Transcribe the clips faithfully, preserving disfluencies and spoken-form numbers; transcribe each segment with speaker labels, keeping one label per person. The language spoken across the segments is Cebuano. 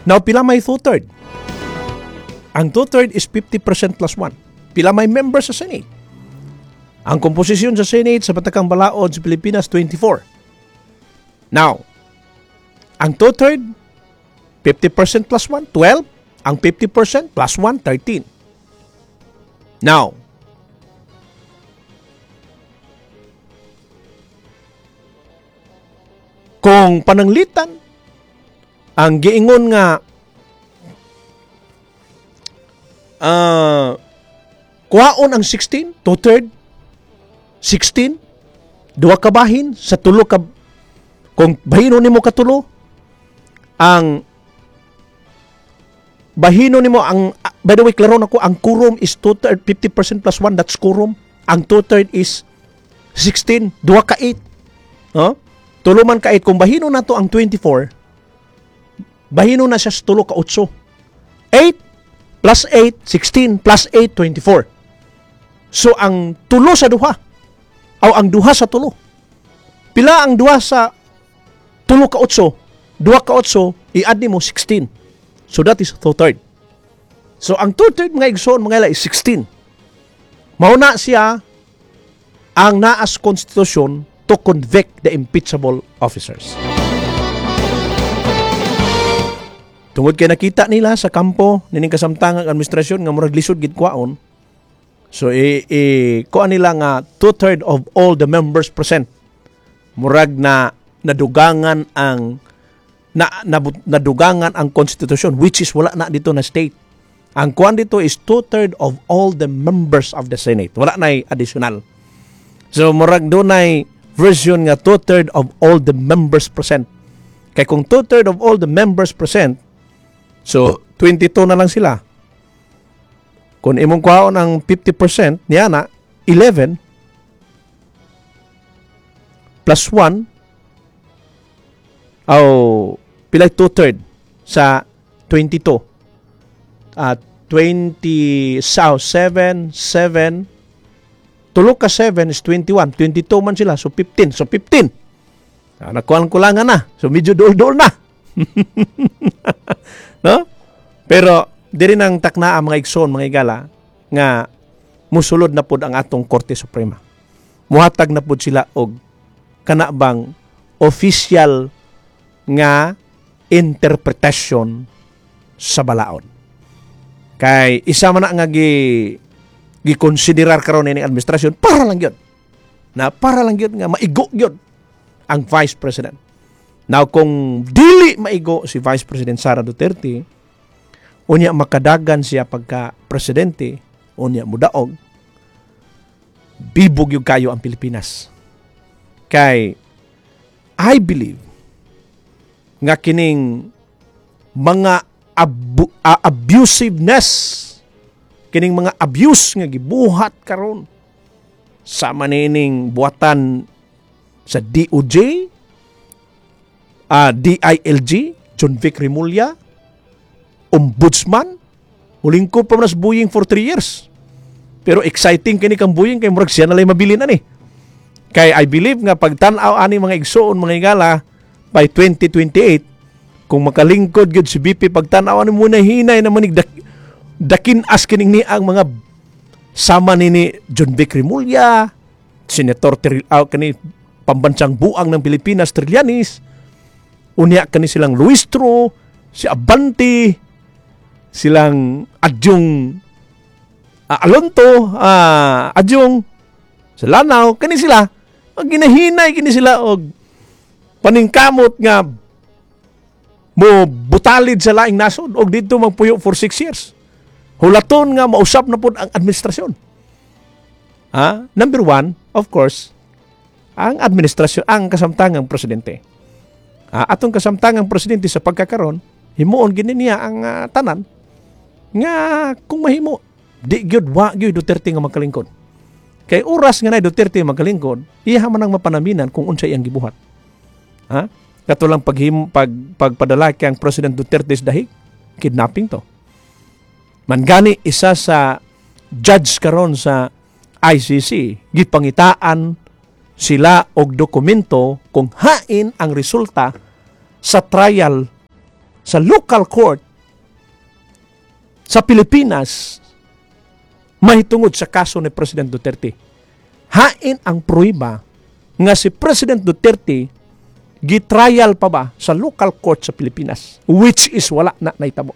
Speaker 1: Now, pila may two-third? Ang two-third is fifty percent plus one. Pila may members sa Senate? Ang komposisyon sa Senate sa Batakang Balaod sa Pilipinas, twenty-four. Now, ang two-third, fifty percent plus one, twelve. Ang fifty percent plus one, thirteen. Now, kung pananglitan, ang giingon nga uh, kuhaon ang sixteen, two-third, sixteen, duha ka bahin sa tulo ka, kung bahino nimo katulo, ang bahino nimo ang, by the way, klaro nako, ang quorum is two-third, fifty percent plus one, that's quorum. Ang two-third is sixteen, duha ka eight. No? Tulo man ka eight. Kung bahino nato ang twenty-four, bahino na siya sa tulo ka eight. eight plus eight, sixteen plus eight, twenty-four. So, ang tulo sa duha, o ang duha sa tulo. Pila ang duha sa tulo ka eight? Duha ka eight, i-add nimo sixteen. So, that is two-third. So, ang two-third, mga igsoon, mga ila, is sixteen. Mauna siya ang naas konstitusyon to convict the impeachable officers. Tungod kay nakita nila sa kampo nining kasamtangang administrasyon nga murag lisod gid kwaon. So i, i kuan nila nga two-third of all the members present. Murag na nadugangan ang na, na nadugangan ang konstitusyon, which is wala na dito na state. Ang kuan dito is two-third of all the members of the Senate. Wala na additional. So murag dunay version nga two-third of all the members present. Kay kung two-third of all the members present, so twenty-two na lang sila. Kung imong kuhaon ang fifty percent niya na eleven plus one, aw, pilay two-third sa twenty-two? At uh, twenty sa seven, seven, tulo ka seven is twenty-one. twenty-two man sila, so fifteen. So fifteen. Ah, nakuha kulangan na. So medyo duol-duol na. No? Pero diri nang takna ang mga igsoon, mga igala, nga musulod na pod ang atong Korte Suprema. Muhatag na pod sila og kana bang official nga interpretation sa balaod. Kay isa man na nga gi gikonsiderar karon ini administrasyon para lang gyud. Na para lang gyud nga maigo gyud ang Vice President. Now kung dili maigo si Vice President Sara Duterte, unya makadagan siya pagka presidente, unya mudaog, bibog yung kayo ang Pilipinas. Kay I believe nga kining mga abu- uh, abusiveness, kining mga abuse nga gibuhat karon sa manining buhatan sa D O J, uh, D I L G, John Vic Remulla, Ombudsman, mulingkod pa man sa Buying for three years. Pero exciting kini kang Buying kay murag siya na lay mabilin ani. Kay I believe nga pagtan-aw ani, mga igsoon, mga higala, by twenty twenty-eight kung makalingkod gyud si V P, pagtan-aw ani muna hinay na manig dak, dakin as kining ni ang mga sama ni ni John Vic Remulla, Senator Ter, uh, kani pambansang buang ng Pilipinas Trillanes, unya kani silang Luistro, si Abante, silang Adyong uh, Alonto, uh, Adyong sa Lanao, kani sila, ang ginahinay kini sila og paningkamot nga mo butalid sa laing nasod og didto magpuyo for six years. Hulaton nga mausap na pod ang administrasyon. Ah, number one, of course, ang administrasyon, ang kasamtangang presidente. Ah, atong kasamtangang presidente sa pagkakaron, himuon gini niya ang uh, tanan nga kung mahimo di gyud, wa gyud Duterte nga magkalingkod. Kay oras nga na Duterte magkalingkod, iya man ang mapanaminan kung unsay iyang gibuhat. Ha? Kato lang paghim, pag, pagpadala kay ang President Duterte sa dahig, kidnapping to. Man gani isa sa judge karon sa I C C, gipangitaan sila og dokumento kung hain ang resulta sa trial Sa local court sa Pilipinas mahitungod sa kaso ni President Duterte. Hain ang pruweba nga si President Duterte gitrial pa ba sa local court sa Pilipinas, which is wala na naitabo.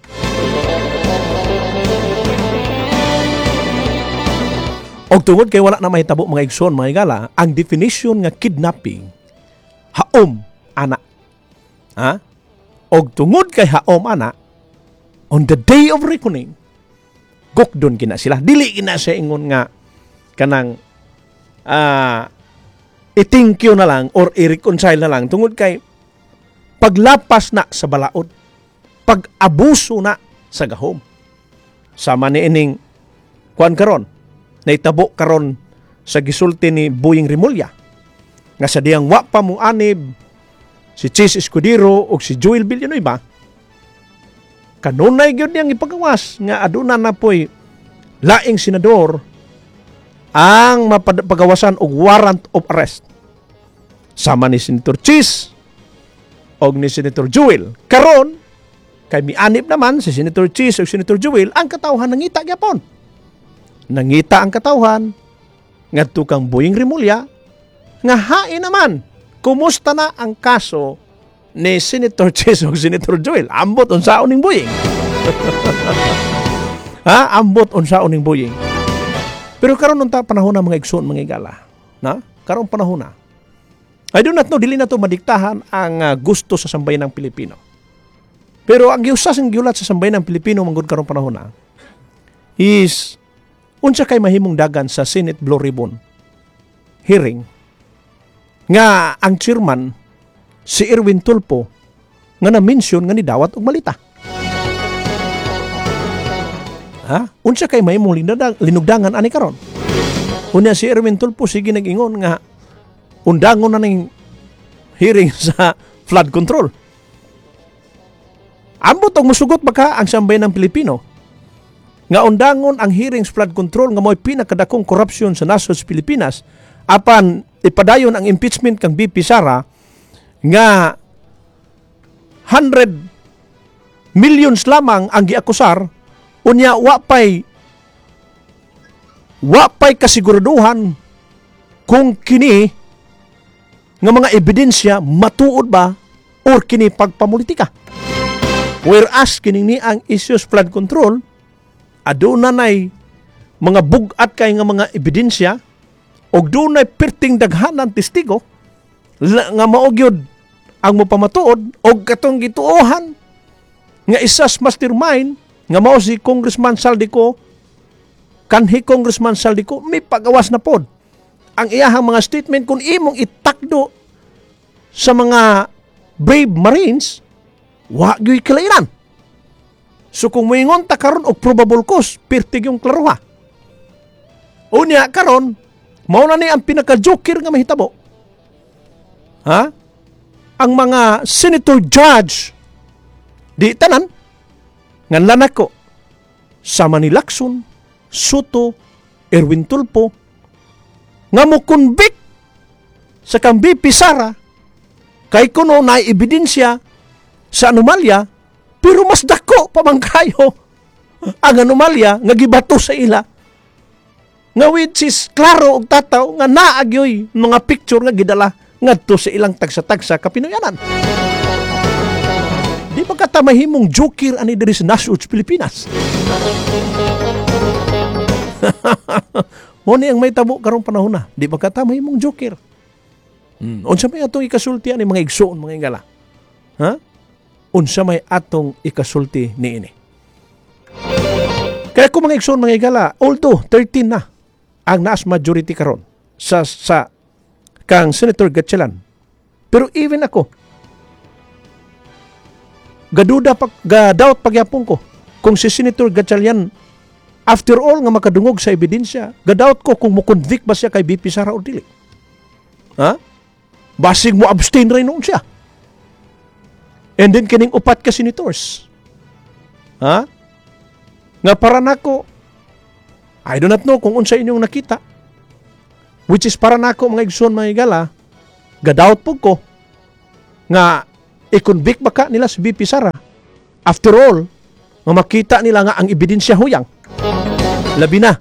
Speaker 1: Og tungod kay wala na mahitabo, mga igsoon, mga higala, ang definition nga kidnapping, haom ana. Ha? Og tungod kay haom ana, on the day of reckoning, gukdon kina sila. Dili kina siya ingon nga kanang ah i-thank you na lang or i-reconcile na lang tungod kay paglapas na sa balaod, pag-abuso na sa gahom. Sama ni ining kuan karon, naitabo karon sa gisulti ni Boying Remulla nga sa diyang wa pa mo anib si Chiz Escudero o si Joel Villanueva, kanunay gyud niyang ipagawas nga aduna na po'y laing senador ang mapagawasan og warrant of arrest sama ni Senator Chiz og ni Senator Joel. Karon kay mianib naman si Senator Chiz ug Senator Joel, ang katawhan nangita gyapon. Nangita ang katawhan ngadto kang Boying Remulla nga hain naman, kumusta na ang kaso ni Senator Chiz ug Senator Joel? Ambot unsaon ning Boying, ha? Ambot unsaon ning Boying. Pero karon unta panahon na, mga igsoon, mga igala, na karon panahon na, I do not know, dili na to madiktahan ang uh, gusto sa sambayanang Pilipino, pero ang giusas ang giulat sa sambayanang Pilipino manggod karong panahon na is unsa kay mahimong dagan sa Senate Blue Ribbon hearing nga ang chairman si Erwin Tulfo nga na-mention nga nidawat og malita. Ha? Unsa kay mahimong linugdangan ani karon? Unya si Erwin Tulfo sige nag-ingon nga undangon na ning hearing sa flood control. Ambot og musugot baka ang sambayanang Pilipino nga undangon ang hearings flood control nga mo'y pinakadakong korupsyon sa nasod sa Pilipinas, apan ipadayon ang impeachment kang V P Sara nga one hundred millions lamang ang giakusar, unya wa pay wa pay kasiguraduhan kung kini nga mga ebidensya matuod ba or kini pagpamulitika. Whereas kining ni ang issues flood control, aduna nay mga bug-at kay nga mga ebidensya og dunay perting daghanan testigo nga mao gyud ang mopamatuod, og katong gituohan nga isas mastermind nga mao si Congressman Zaldy Co, kanhi Congressman Zaldy Co, may pagawas na pod ang iyahang mga statement. Kung imong itakdo sa mga brave Marines, wa gyud kalainan. So kung moingon ta karon og probable cause, pirtig yung klaruha. Unya karon mao na ni ang pinaka-joker nga mahitabo, ha? Ang mga senator judge, di tanan, nganlan nako sama ni Lacson, Sotto, Erwin Tulfo nga mo convict sa kang V P Sara kay kuno na ebidensya sa anomalya, pero mas dako pa man kayo ang anomalya nga gibato sa ila nga which is klaro og tataw nga naagyoy mga picture nga gidala ngadto sa ilang tagsa-tagsa kapinoyanan. Di ba kata mahimong joker ani diri sa nasod sa Pilipinas? Mo ni ang may tabo karong panahon na. Di ba kata mahimong joker? Hmm. Unsa may atong ikasulti ani, mga igsoon, mga igala? Ha? Unsa may atong ikasulti niini? Kaya kung mga igsoon, mga igala, although thirteen na ang naas majority karon sa sa kang Senator Gatchalian. Pero even ako, gaduda pa, gadawt pagyapon ko kung si Senator Gatchalian after all nga makadungog sa ebidensya, gadawt ko kung mo-convict ba siya kay V P Sara o dili. Ha? Basig mo abstain rin noon siya. And then kining upat ka senators. Ha? Nga para nako, I do not know kung unsa inyong nakita. Which is para nako, mga igsoon, mga igala, gadawt po ko nga i-convict ba ka nila si V P Sara. After all, nga makita nila nga ang ebidensya huyang. Labi na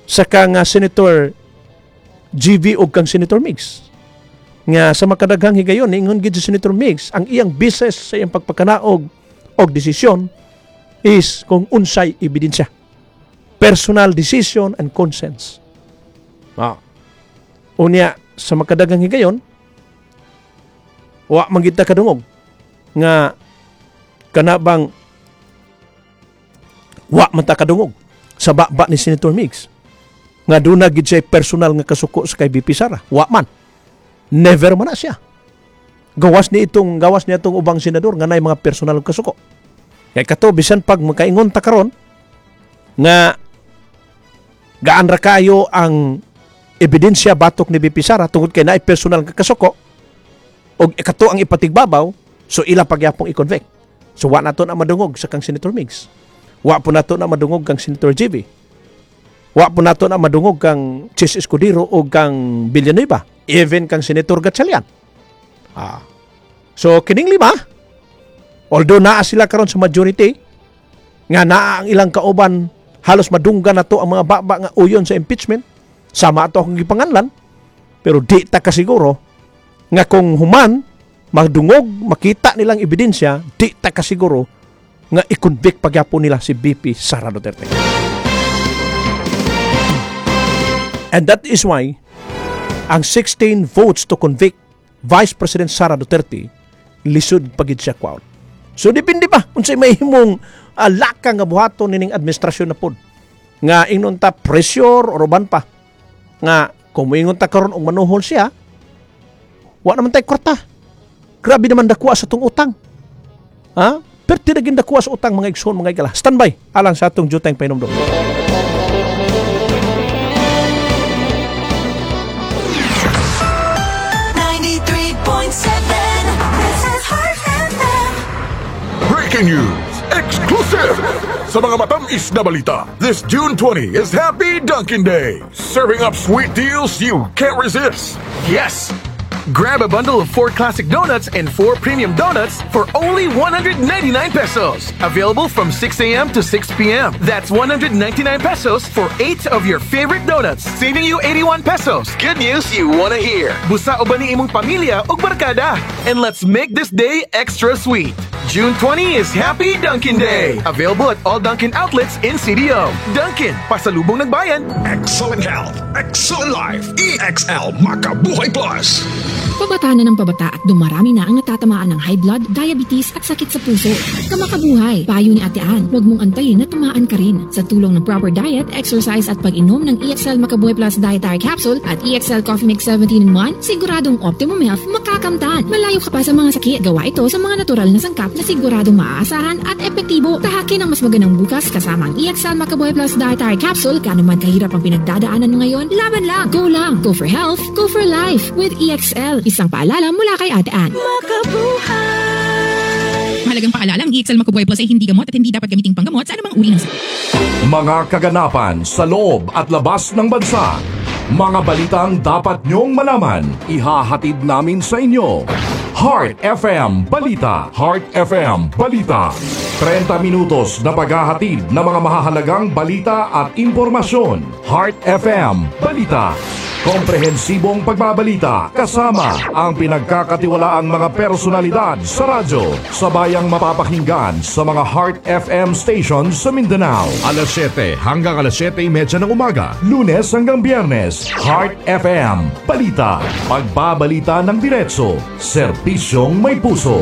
Speaker 1: sa kang uh, Senator J V o kang Senator Migz. Nga sa makadaghang higayon, niingon gid si Senator Migz, ang iyang basis sa iyang pagpakanaog og desisyon is kung unsay ebidensya. Personal decision and conscience. Ah. Unya, sa makadaghang higayon, wa man gid ta kadungog nga kana bang wa man ta kadungog sa baba ni Senator Migz nga duna gid siya personal nga kasuko sa kay V P Sara. Wa man. Never man na siya. Gawas ni itong gawas niya itong ubang senador nga nay mga personal nga kasuko. Kay kato bisan pag makaingon ta karon nga gaan ra kayo ang ebidensya batok ni V P Sara tungod kay naay personal nga kasuko og kato ang ipatigbabaw, so ila pagyapong i-convict. So wa nato na madungog sa kang Senator Migz. Wa po nato na madungog kang Senator J V. Wa po nato na madungog kang Chiz Escudero o kang Villanueva, even kang Senator Gatchalian. Ah. So kining lima, although naa sila karon sa majority, nga naa ang ilang kauban, halos madunggan na to ang mga baba nga uyon sa impeachment, sama ato akong gipanganlan, pero di ta kasiguro nga kung human madungog, makita nilang ebidensya, di ta kasiguro nga i-convict pagyapon nila si V P Sara Duterte. And that is why ang sixteen votes to convict Vice President Sara Duterte, lisod pagid siya kwaon. So depende pa unsay mahimong uh, lakang nga buhaton nining administrasyon na pod. Nga ingnon ta pressure or uban pa. Nga kung moingon ta karon og manuhol siya, wa naman tay kwarta. Grabe naman dakuha sa tong utang. Ha? Perti na dakuha sa utang, mga igsoon, mga igala. Standby alang sa atong jutang pahinumdom.
Speaker 2: ninety-three point seven. This is Heart F M.
Speaker 3: Breaking news! Exclusive! Sa mga matamis na balita, this June twenty is Happy Dunkin' Day! Serving up sweet deals you can't resist!
Speaker 4: Yes! Grab a bundle of four classic donuts and four premium donuts for only one hundred ninety-nine pesos. Available from six a m to six p m. That's one hundred ninety-nine pesos for eight of your favorite donuts, saving you eighty-one pesos. Good news you wanna hear. Busa uban ni imong pamilya ug barkada. And let's make this day extra sweet. June twenty is Happy Dunkin' Day. Available at all Dunkin' outlets in C D O. Dunkin', pasalubong ng bayan.
Speaker 5: Excellent health, excellent life. E X L Makabuhay Plus.
Speaker 6: Pabata na ng pabata at dumarami na ang natatamaan ng high blood, diabetes at sakit sa puso. Kamakabuhay, payo ni Ate Ann, huwag mong antayin na tamaan ka rin. Sa tulong ng proper diet, exercise at pag-inom ng E X L Makabuhay Plus Dietary Capsule at E X L Coffee Mix seventeen in one, siguradong optimum health makakamtan. Malayo ka pa sa mga sakit. Gawa ito sa mga natural na sangkap na siguradong maaasahan at epektibo. Tahakin ang mas magandang bukas kasama ang E X L Makabuhay Plus Dietary Capsule. Gaano man kahirap ang pinagdadaanan mo ngayon, laban lang! Go lang! Go for health, go for life with E X L. Isang paalala mula kay Ate Ann.
Speaker 7: Mahalagang paalala, ang E X L Makabuhay Plus ay hindi gamot at hindi dapat gamiting panggamot sa anumang uri ng sakit.
Speaker 8: Mga kaganapan sa loob at labas ng bansa. Mga balitang dapat nyong malaman. Ihahatid namin sa inyo. Heart F M Balita. Heart F M Balita. trenta minutos na paghahatid ng mga mahahalagang balita at impormasyon. Heart F M Balita. Komprehensibong pagbabalita kasama ang pinagkakatiwalaang mga personalidad sa radyo. Sabayang mapapakinggan sa mga Heart F M stations sa Mindanao. Alas siyete hanggang alas siyete trenta ng umaga. Lunes hanggang Biyernes. Heart F M Balita. Pagbabalita ng diretso. Serbisyong may puso.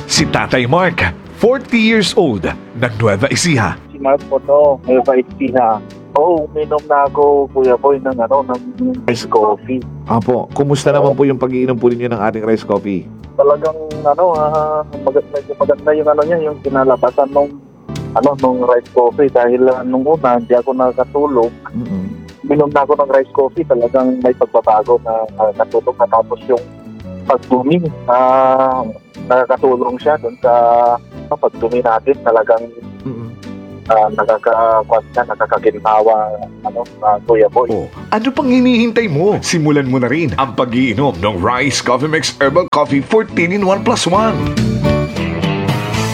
Speaker 9: Si Tatay Mark, forty years old, ng Nueva Ecija.
Speaker 10: Si Mark po to, Nueva Ecija. Oo, uminom na ako, Kuya Boy, ng ano, ng rice coffee.
Speaker 11: Apo, kumusta naman po yung pag-iinom po ninyo ng ating rice coffee?
Speaker 10: Talagang ano, ah, mag- medyo maganda yung ano niya, yung kinalabasan nung ano, nung rice coffee dahil ah, nung una hindi ako nakatulog.
Speaker 11: Mm-mm.
Speaker 10: Minom na ako ng rice coffee, talagang may pagbabago na uh, natulog na, tapos yung pagdumi, ah, nakakatulong siya doon sa uh, pagdumi natin, talagang
Speaker 11: Mm-mm.
Speaker 10: uh, nakaka na, nakakaginhawa ano uh, Kuya Boy.
Speaker 9: Oh, ano pang hinihintay mo? Simulan mo na rin ang pag-iinom ng Rice Coffee Mix Herbal Coffee fourteen in one plus one.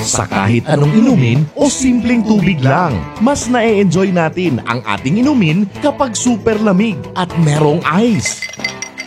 Speaker 8: Sa kahit anong inumin o simpleng tubig lang, mas na-enjoy natin ang ating inumin kapag super lamig at merong ice.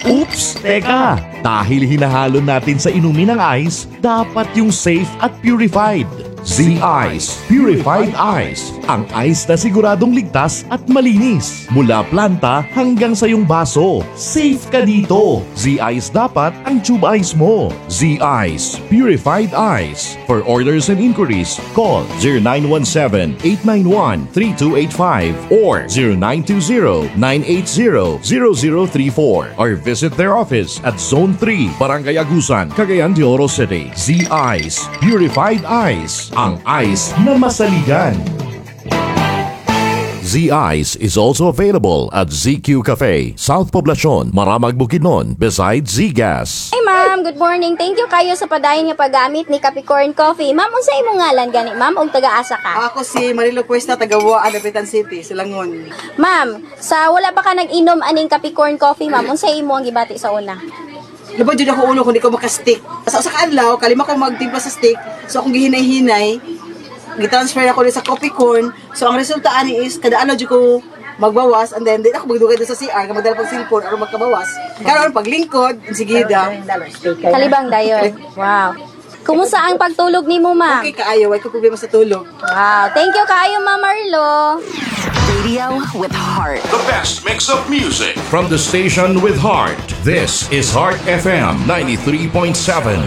Speaker 8: Oops! Teka! Dahil hinahalo natin sa inumin ang ice, dapat yung safe at purified. Z-Ice Purified Ice. Ang ice na siguradong ligtas at malinis. Mula planta hanggang sa iyong baso. Safe ka dito. Z-Ice dapat ang tube ice mo. Z-Ice Purified Ice. For orders and inquiries, call zero nine one seven, eight nine one, three two eight five or zero nine two zero, nine eight zero, zero zero three four or visit their office at Zone three, Barangay Agusan, Cagayan de Oro City. Z-Ice Purified Ice. Ang ice na masaligan. Z-Ice is also available at Z Q Cafe, South Poblacion, Maramag, Bukidnon, beside Z-Gas.
Speaker 12: Hi ma'am, good morning. Thank you kayo sa padayon nga paggamit ni Capricorn Coffee. Ma'am, unsa imong ngalan gani, ma'am, ug taga-asa ka?
Speaker 13: Ako si Marilo Cuesta, taga Dapitan City, Silangon.
Speaker 12: Ma'am, sa wala pa ka nag-inom aning Capricorn Coffee, ma'am, unsa imo ang gibati sa una?
Speaker 13: Labad jud ako ulo kung di ko maka-stick. Sa usa ka adlaw, kalima ko magtimpla sa stick. So akong gihinay-hinay, gitransfer ako sa coffee corn. So ang resulta ani is kada adlaw jud ko magbawas and then di ako magdugay doon sa C R kay magdala pag cellphone aron magkabawas. Karon paglingkod, sige da.
Speaker 12: Kalibang dayon. Wow. Kumusta ang pagtulog nimo, ma'am?
Speaker 13: Okay kaayo, way ko problema sa tulog.
Speaker 12: Wow. Thank you kaayo, Ma'am Marlo.
Speaker 2: Radio with heart.
Speaker 8: The best mix of music. From the station with heart. This is Heart F M ninety-three point seven.